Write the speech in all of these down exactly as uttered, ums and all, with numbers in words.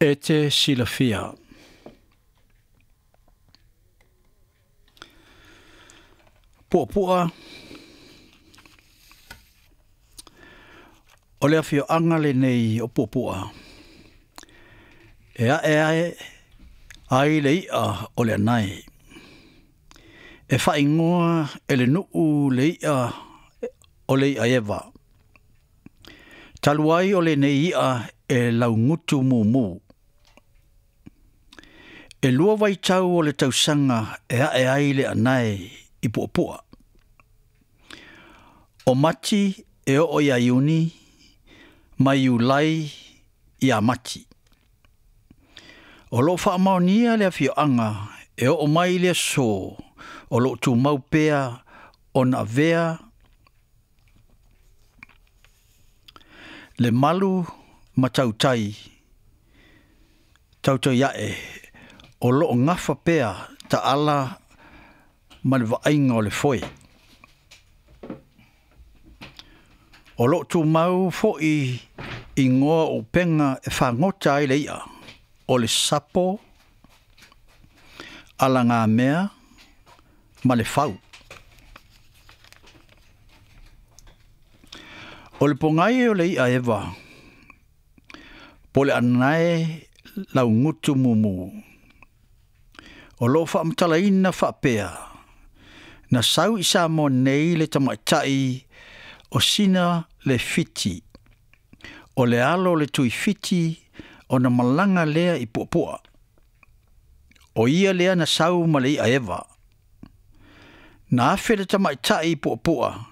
E te silafia. Puapua o le afioaga lenei o Puapua e ae ae ai le i'a o le anae. E faaigoa e le nuu le i'a o le i'a eva. Talu ai o lenei i'a e laugutu mumu. E lua vaitau o le tausaga e ae ai le anae i Puapua. O Mati e oo ia Iuni, ma Iulai ia Mati. O loo faamaonia le afioaga e oo mai le aso o loo tumau pea ona avea le malu ma tautai tautai ae o loo gafa pea taala ma le vaaiga o le foe. O loo tumau fo'i igoa o upega e fagota ai le i'a o le sapo, alagamea ma le fau. O le pogai o le i'a eva, po le anae laugutu mumu. O loo faamatalaina faapea, na sau i Samoa nei le tamaita'i o sina le fiti. O le alo o le tuifiti ona malaga lea i Puapua. O ia lea na sau ma le i'a eva. Na afe le tamaita'i i Puapua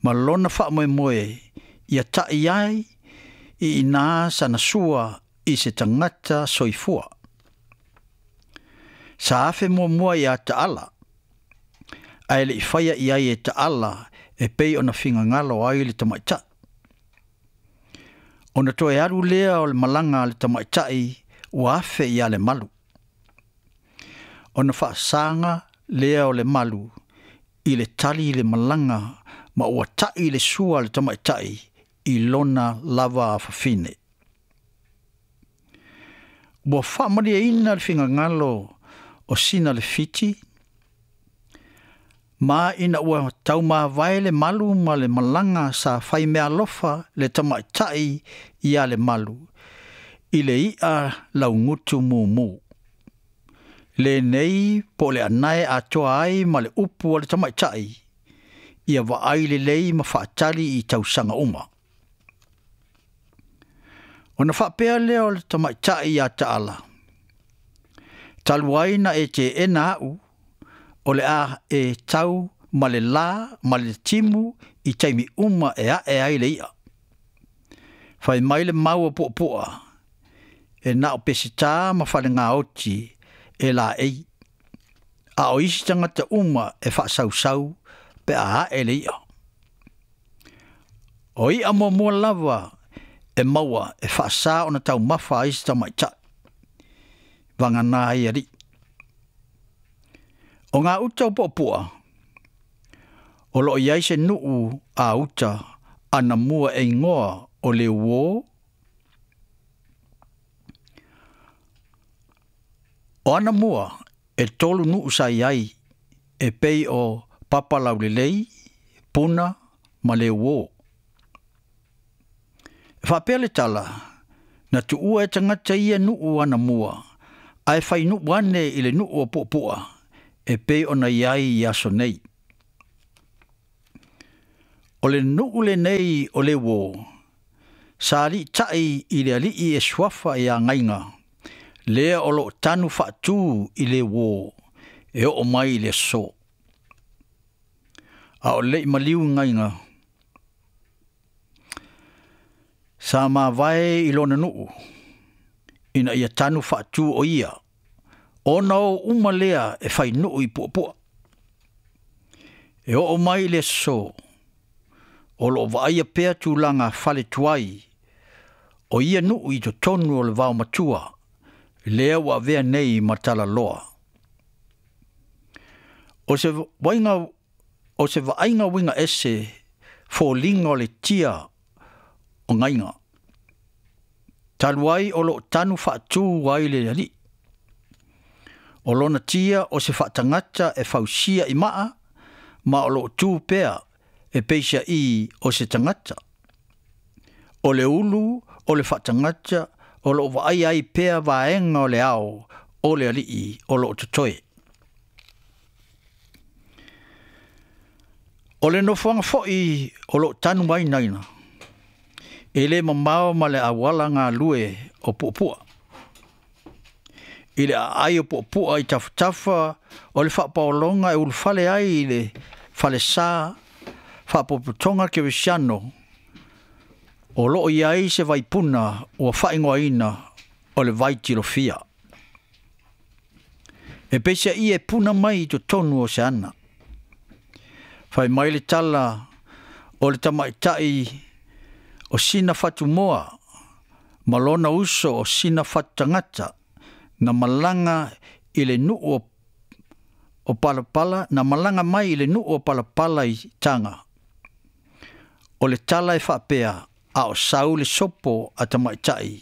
ma lona faamoemoe ia ta'i ai i ina sana sua i se tagata soifua. Sa afe muamua ia Taala, ae le i faia i ai e Taala e pei ona figagalo ai le tamaita'i. Ona toe alu lea o le malaga a le tamaita'i ua afe ia le malu. Ona faasaga lea o le malu i le tali i le malaga ma ua ta'i le sua a le tamaita'i i lona lava afafine. Ua faamalieina le figagalo o sina le fiti, ma ina ua taumavae le malu ma le malaga sa faimeaalofa le tamaita'i ia le malu i le i'a laugutu mumu. Lenei po o le anae atoa ai ma le upu a le tamaita'i ia vaai lelei ma faatali i tausaga uma. Ona faapea lea o le tamaita'i ia Taala, talu ai na e teena a'u o le a e tau ma le lā ma le timu i taimi uma e ae ai le i'a. Fai mai le mau o Puapua e na o pesitā ma falegaoti e laei, a o isi tagata uma e faasausau pe a ae le i'a. O i'a muamua lava e maua e faasā ona taumafa ai se tamaita'i, vagana ai alii. O ngā uta o Puapua, o loo i ai se nuu a uta anamua e igoa o le uō. O anamua e tolu nuu sa i ai e pei o Papalaulelei, Puna ma le uō. E faapea le tala, na tuua e tagata ia nuu anamua, ae fai nuu ane i le nuu o Puapua, e pei ona i ai i aso nei. O le nuu lenei o le uō, sa aliita'i i le alii e suafa ia Gaiga, lea o loo tanu faatū i le uō, e oo mai i le aso. A o le'i maliu Gaiga, sa mavae i lona nuu, ina ia tanu faatū o ia, ona o uma lea e fai nuu i Puapua. E oo mai i le aso, o loo vaaia pea tulaga fale tuai, o ia nuu i totonu o le vaomatua, lea ua avea nei ma talaloa. O se vaiga o se vaaiga uiga ese foliga o le tia o Gaiga. Talu ai o loo tanu faatu ai le alii. O lona tia o se faatagata e fausia i maa ma o loo tu pea e peisaʻi o se tagata. O le ulu o le faatagata o loo vaai ai pea vaega o le ao o le alii o loo totoe. O le nofoaga foʻi o loo tanu ai naina, e lē mamao ma le auala galue o puapua. I le aai o puapua i tafatafa o le faapaologa e ulufale ai i le falesā faapopotoga kerisiano o loo i ai se vaipuna ua faaigoaina o le vaitilofia. E peisaʻi e puna mai i totonu o se ana. Fai mai le tala o le tamaʻitaʻi o sina fatumoa ma lona uso o sina fatutagata na malaga i le nuu o, o Palapala, na malaga mai i le nuu o Palapala i Taga. O le tala e faapea a o sau le sopo a tamaʻitaʻi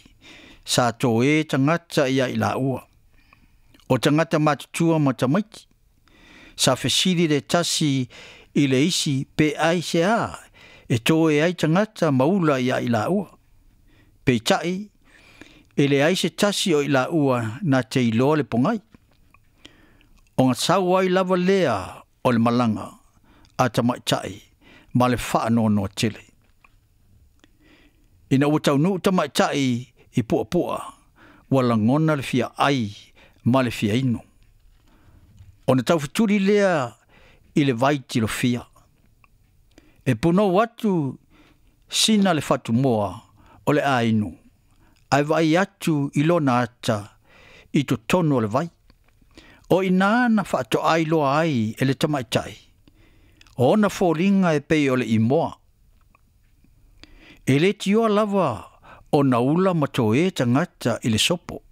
sa toē tagata ia i laua. O tagata matutua ma tamaiti. Sa fesili le tasi i le isi pe ai se a e toe ai tagata ma ula ia i laua. Peitai e leai se tasi o i laua na te iloa le pogai. Ona sau ai lava lea o le malaga a tamaʻitaʻi ma le faanoanoa tele. Ina ua taunuu tamaʻitaʻi i puapua, ua lagona le fia ai ma le fia inu. Ona taufetuli lea i le vaitilofia. E punou atu sina le fatumoa o le ainu, ae vaai atu i lona ata i totonu o le vai. O ina na faatoai loa ai e le tamaʻitaʻi, o ona foliga e pei o le imoa. E lē tioa lava ona ula ma toē tagata i le sopo.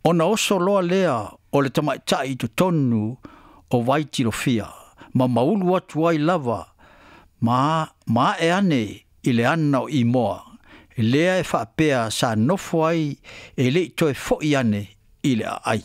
Ona oso loa lea o le tamaʻitaʻi i totonu o vaitilofia, ma maulu atu ai lava ma, ma ae ane i le ana o imoa, lea e faapea sa nofo ai e leʻi toe foʻi ane i le aai.